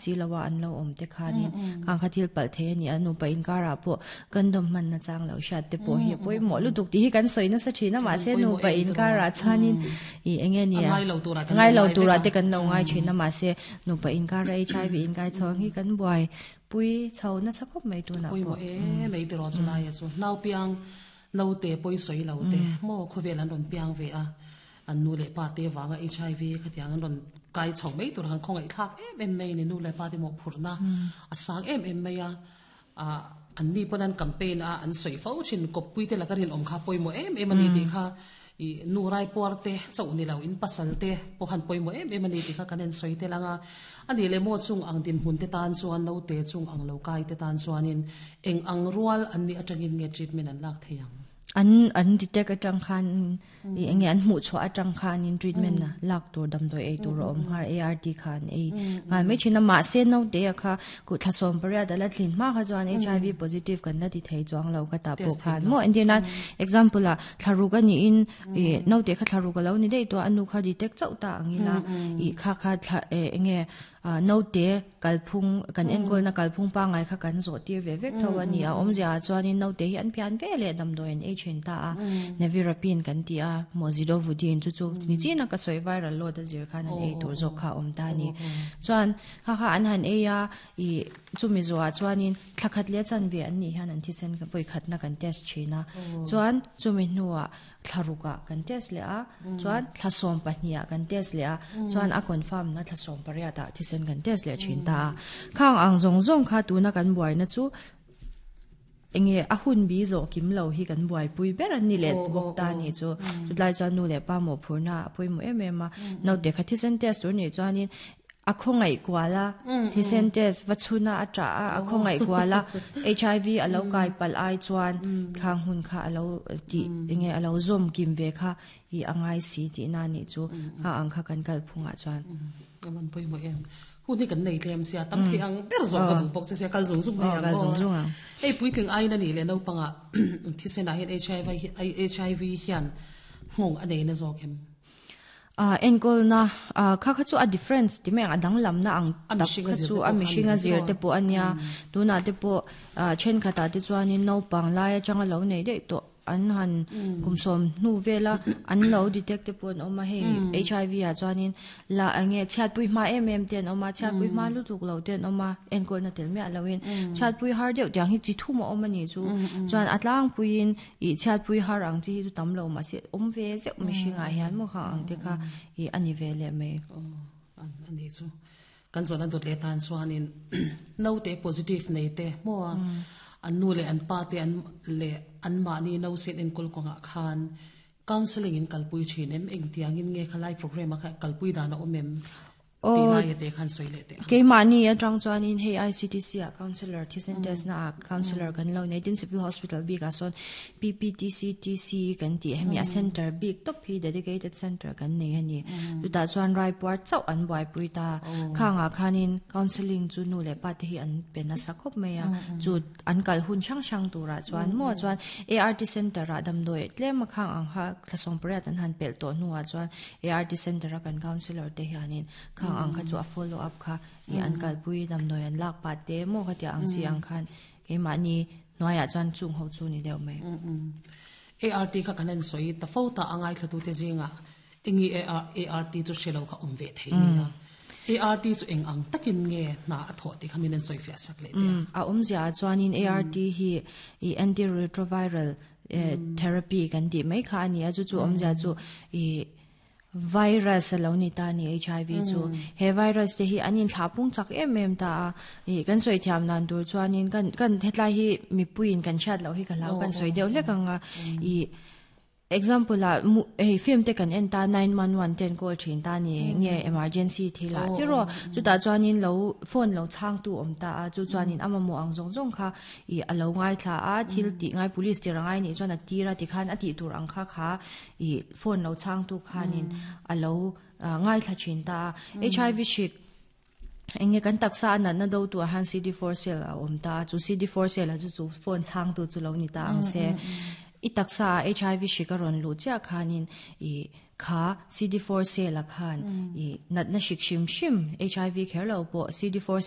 Si lo a an lo awm te khanin khang kha thil palh thei a ni a, nupa inkarah pawh condom hman na chang lo hriat te pawh hi a pawimawh lutuk tih hi kan sawi nasa thin a, mahse nupa inkarah chuanin ih eng nge nia ngai lo turah te kan lo ngai thin a, mahse nupa inkara HIV inkai chhawng hi kan buai pui chho nasa khawp mai tunah pawh. Pawimawh em mai tiraw chulaia chu naupiang naute pawi sawi lo te maw khawvel an rawn piang ve a. An nu leh pa te vanga HIV khatiang an rawn kai chho mai tur han khawngaih thlak em em mai a ni. Nu leh pa te mawhphurhna a sang em em mai a, ah an ni pawn an campaign a an sawi fo thin kawppui te laka rinawm kha pawimawh em em a ni tih kha ih nu raipuar te chauh ni lo in pasal te pawh han pawimawh em em a ni tih kha kan en sawi tel ang a. A nih leh maw chung ang dinhmun te tan chuan naute chung ang lo kai te tan chuanin eng ang rual an nih atangin nge treatment an lak thei ang? An an detect atang khan I enge an hmuh chhuah atang khanin treatment a lak tur damdawi ei tur a awm nghal ART kha an ei nghal mai thin a mahse naute a kha kuh thla sawm pariat a la thlin hma kha chuan HIV positive kan la ti thei chuang lo ka tah pawh khan maw entir nan example ah thla ruk a niin i naute kha thla ruk a lo ni daih tawh a nu kha detect chauh ta ang ila i kha kha thla enge Naute kalphung, kan enkawlna kalphung pangngai kha kan zawh tir ve vek tho a ni a. Awmzia ah chuanin naute hi an pian ve leh damdawi an ei thin ta a. Nevirapine kan ti a, maw Zidovudine chu chu ni chin a ka sawi viral load a zir khan an ei tur zawk kha a awm ta a ni. Chuan kha kha an han ei a, ih chumi zawhah chuanin thla khat leh chanve an nih hian an thisen vawi khatna kan test thin a. Chuan chumi hnuah thla rukah kan test leh a, chuan thla 12 ah kan test leh a, chuan a confirm na thla 18 ah thisen kan test leh thin ta a. Khang ang zawng zawng kha tuna kan buaina chu enge a hun bi zawh kim lo hi kan buaipui ber an ni leh bawk ta ni chu. Chutlai chuan nu leh pa mawhphurna a pawimawh em em a, naute kha thisen test tur nih chuanin A khawngaih kual a, thisen test va chhun a, a ṭah a, a khawngaih kual a, HIV a lo kai palh ai chuan khang hun kha a lo tih enge a lo zawm kim ve kha i a ngai si tihna a nih chu kha ang kha kan kal phungah chuan. Ka van pawimawh em. Hun hi kan nei tlem sia, tam thei ang ber zawk ka duh bawk che sia, kal zung zung mai ang aw. Hei puitling aiin a nih leh naupangah thisenah hian HIV hian nghawng a nei na zawk em? Enkawlna kha kha chu a difference ti mai ang a danglamna ang tak kha chu a mihring a zir te pawh a nia tunah te pawh thenkhatah te chuanin naupang lai atanga lo nei daih tawh an han kum sawm hnu vela an lo detect te pawh an awm a hei HIV ah chuanin la enge chhiatpui hma em em te an awm a chhiatpui hma lutuk lo te an awm a enkawlna tel miah loin chhiatpui har deuh tiang hi chi thum a awm a nih chu chuan a tlangpuiin Ih chhiatpui har ang chi hi chu tam lo mahse awm ve zeuh mihringah hian maw khang ang te kha ih a ni ve leh mai. Aw a ni chu. Kan zawhna dawt leh tan chuanin naute positive nei te maw an nu leh an pa te an leh anmahni nausen enkawl kawngah khan counselling in kalpui thin em? Engtiangin nge khalai programme a kha kalpui dan a awm em? Tih lai te khan sawi leh teh ang. Keimahni atang chuanin hei ICTC ah Councillor thisen test na ah Councillor kan lo nei tin Civil Hospital bik ah sawn PPTCTC kan tih hemi a center bik tawp hi dedicated center kan nei a ni. Chutah chuan raipuar chauh an buaipui ta. Khang ah khanin counselling chu nu leh pa te hi an pe nasa khawp mai a. Chu an kal hun hrang hrang turah chuan maw chuan ART center ah damdawi tlem a khang ang kha thla 18 an han pelh tawh hnuah chuan ART center a kan councillor te hianin khang ang kha chu a follow up kha ih an kalpui damdawi an lak pah te maw kha tia ang chi ang khan keimahni hnuaiah chuan chung ho chu ni deuh mai. ART kha kan en sawi ta fo ta a ngaithlatute zingah Enge ART chu hre lo kha awm ve thei nia. ART chu eng ang takin nge hna a thawh tih kha min an sawi fiah sak leh teh a. A awmzia ah chuanin ART hi i antiretroviral therapy kan tih mai kha a ni a, chu chu awmzia chu i virus a lo ni ta a ni HIV chu. He virus te hi an inthlah pung chak em em ta a, i kan sawi thiam dan tur chuanin kan kan hetlai hi mipuiin kan hriat loh hi ka hlau kan sawi deuh hlek ang a, i Example ah hei film te kan en ta 911 te an call thin ta ni nge emergency thil ah tiraw chutah chuanin lo phone lo chhang tu awm ta a chu chuanin a mamawh ang zawng zawng kha ih a lo ngaithla a thil tih ngai police tir a ngai nih chuan a tir a tikhan a tih tur ang kha kha ih phone lo chhang tu khanin a lo ngaithla thin ta a HIV hrik Enge kan taksa a natna do tu ah hian CD4 cell a awm ta a, chu CD4 cell ah chu chu phone chhang tu chu lo ni ta ang se. I taksa ah HIV hrik a rawn luh chiah khanin i kha CD4 cell ah khan i natna hrik hrim hrim HIV kher lo pawh CD4 cell.